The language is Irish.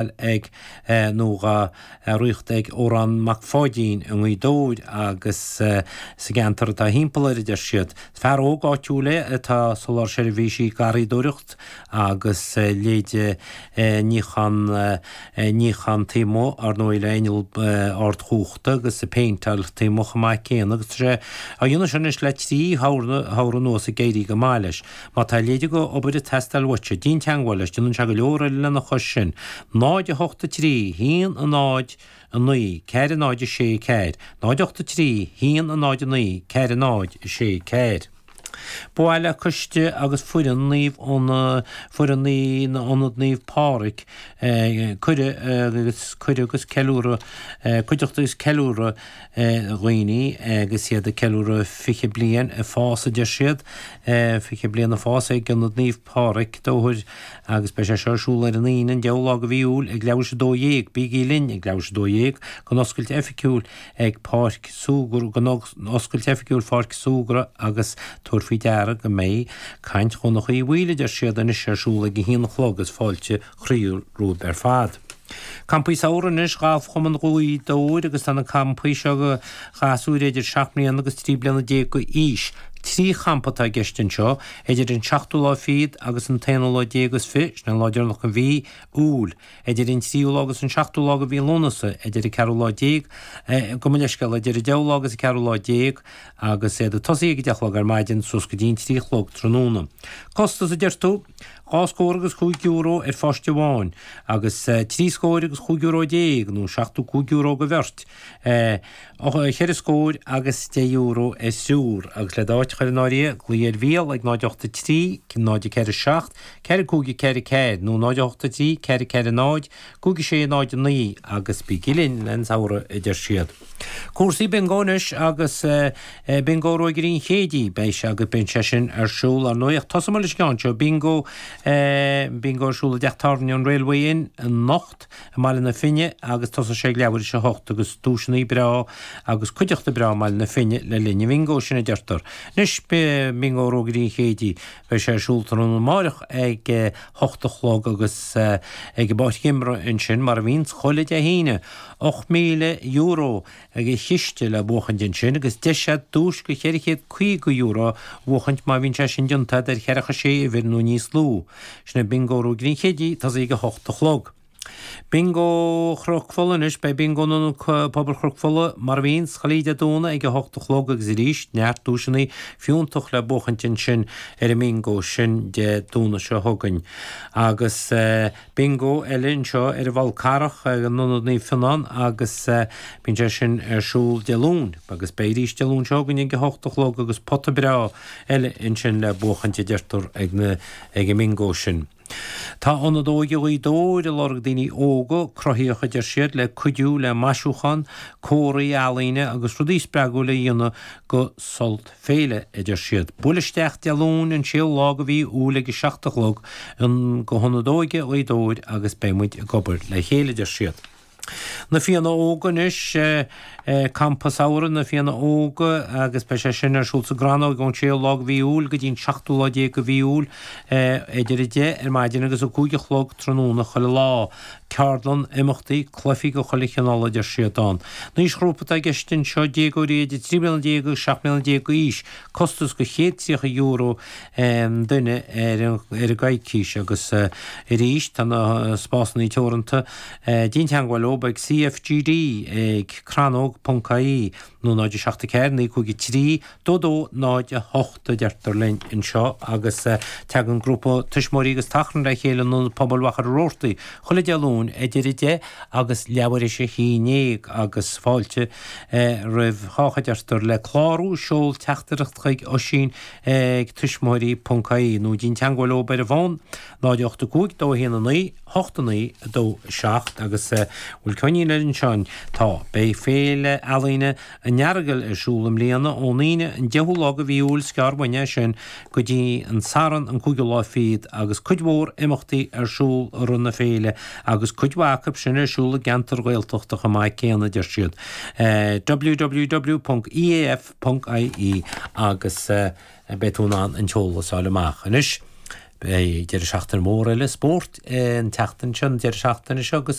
Ag nó dhá ritheacht ag Odhrán Mac Pháidín i nGaoth Dobhair agus sa gceantar atá thimpeall air, a deir siad. Is fear óg áitiúil é atá ag soláthar seirbhísí garraíodóireacht agus leithéide níochán níochán taobh amuigh, ar ndóigh le inneall ardchumhachta agus ag péinteáil taobh amuigh chomh maith céanna agus tá sé á dhéanamh seo anois le 3 shamhradh anuas ag éirí go maith leis. Má tá a leithéid de obair ag teastáil uaitse, déan teangmháil leis, déanann sé go leor eile lena chois sin. 0, 8, 3, 1, 0, 9, 4, 0, 6, 4, 0, 8, 3, 1, 0, 9, 4, 0, 6, 4. Ba mhaith le coiste agus foireann Naomh foireann Ionad Naomh Pádraig cuireadh agus cuireadh agus ceiliúradh cuideachta agus ceiliúradh dhaoine agus iad ag ceiliúradh 20 bliain ag fás a deir siad, 20 bliain ag fás ag Ionad Naomh Pádraig, Dobhair agus beidh sé seo ar siúl ar an Aoine an 10ú lá de mhí Iúil ag leathuair tar éis 12. Bígí linn ag leathuair tar éis 12 don oscailt oifigiúil ag Páirc Súgradh don oscailt oifigiúil Pháirc Súgradh agus tabhair faoi deara go mbeidh caint Dhonncha Uí Bhaoill a deir siad anois ar siúl ag a haon a chlog is fáilte chroíúil romhaibh ar fad. Campaí samhraidh anois, Galfchumann Ghaoth Dobhair agus tá na campaí seo do ghasúir idir 7 mbliana agus 13 bliana d'aois. 3 champa atá i gceist anseo, idir an seachtú lá fichead agus an t-aonú lá déag is fiche, sin an lá deireanach de mhí Iúil, idir an tríú lá agus an seachtú lá de mhí Lúnasa, idir an ceathrú lá déag, gabh mo leithscéal, idir an deichiú lá agus an ceathrú lá déag, agus iad ag tosaí ag a deich a chlog ar maidin suas go dtí an 3 a chlog tráthnóna. Costas, a deir tú? Dhá scór agus chúig euro ar pháiste amháin, agus trí scóir agus chúig euro déag, nó €75 do bheirt, cheithre scór agus deich euro ar thriúr, agus le d'áit a chur in áirithe, glaoigh ar Mhícheál ag 0 8 3 0 4 7 4 5 4 4 nó 0 8 3 4 4 0 5 6 0 9 agus bígí linn len samhradh, a deir siad. Cúrsaí Bingo anois agus Bingo Ruagairí an Chéidí, beidh sé agus beidh sé sin ar siúl ar ndóigh ach tosóidh muid leis an gceann seo, Bingo Bingo ar siúl i dteach tábhairne an Railway Inn anocht i mBaile na Finne agus tosóidh sé ag leathuair tar éis a hocht agus duaiseanna breá agus cuideachta breá i mBaile na Finne le linn an bhingo sin a deirtear. Anois Bingo Ruagairí an Chéidí, beidh sé ar siúl tráthnóna amáireach ag hocht a chlog agus ag an bpáirc imeartha ansin mar a bhíonns chuile Dé hAoine. €8,000 de chiste le buachaint ansin agus deis agat duais de €450 a bhuachaint má bhíonn sé sin déanta agat ar cheathracha sé uimhir nó níos lú. Sin é Bingo Ruagairí an Chéidí, tosaí ag 8 a chlog. Bingo Chnoc Fola anois, beidh Bingo in Ionad Pobail Chnoc Fola mar a bhíonns, chuile Dé Domhnaigh ag 8 a chlog agus arís neart duaiseanna fiúntach le buachaint ansin ar an mbingo sin Dé Domhnaigh seo chugainn. Agus. Bingo eile anseo ar an bhFál Carrach ag an Ionad Naomh Fionnán agus bíonn sé sin ar siúl Dé Luain agus beidh arís Dé Luain seo chugainn ag a hocht a chlog agus pota breá eile ansin le buachaint a deirtear ag na ag an mbingo sin. Tá Ionad Óige Ghaoth Dobhair ag lorg daoine óga, cruthaíoch a deir siad, le cuidiú le maisiúchán, comharthaí ealaíne agus rudaí spreagúil a dhéanamh go Sult Féile, a deir siad. Buail isteach Dé Luain an séú lá de mhí Iúil ag a 7 a chlog go hIonad Óige Ghaoth Dobhair agus beidh muid ag obair le chéile, a deir siad. Na Fianna Óga anois, Campa Samhraidh na Fianna Óga agus beidh sé sin ar siúl sa gCrannóg ón séú lá de mhí Iúil go dtí an seachtú lá déag de mhí Iúil idir 10 ar maidin agus 5 a chlog tráthnóna chuile lá. Ceardlann, imeachtaí, cluichí de chuile chineál a deir siad ann. An aoisghrúpa atá i gceist anseo, déagóirí idir 13 bliana agus 17 mbliana d'aois. Costas de €130 an duine ar an gcoicís agus arís tá na spásanna teoranta. Déan teagmháil leo ag CFGD ag crannóg.ie nó 0 7 4 9 5 3 2 2 0 8 a deirtear linn anseo agus tagann grúpa tuismitheoirí agus tachrann le chéile in Ionad Pobail Mhachaire Rabhartaigh chuile Dé Luain idir 10 agus leathuair théis a haon déag agus fáilte roimh chách a deirtear le clárú seol teachtaireacht chuig Oisín ag tuismitheoirí ponc ie nó déan teagmháil leo ar an bhfón 0 8 5 2 1 9 8 9 2 7 agus bhfuil coinnín ar anseo tá beidh Féile Ealaíne an Earagail ar siúl i mbliana ón Aoine an 10ú lá de mhí Iúil is gearr uainn é sin go dtí an Satharn an cúigiú lá fichead agus cuid mhór imeachtaí ar siúl i rith na féile agus cuid mhaith acu sin ar siúl i gceantair Ghaeltachta chomh maith céanna deir siad. www.eaf.ie agus beidh tú in ann an t-eolas a fháil amach. Anois. Beidh deireadh seachtaine mór eile spóirt an tseachtain seo, an deireadh seachtaine seo agus.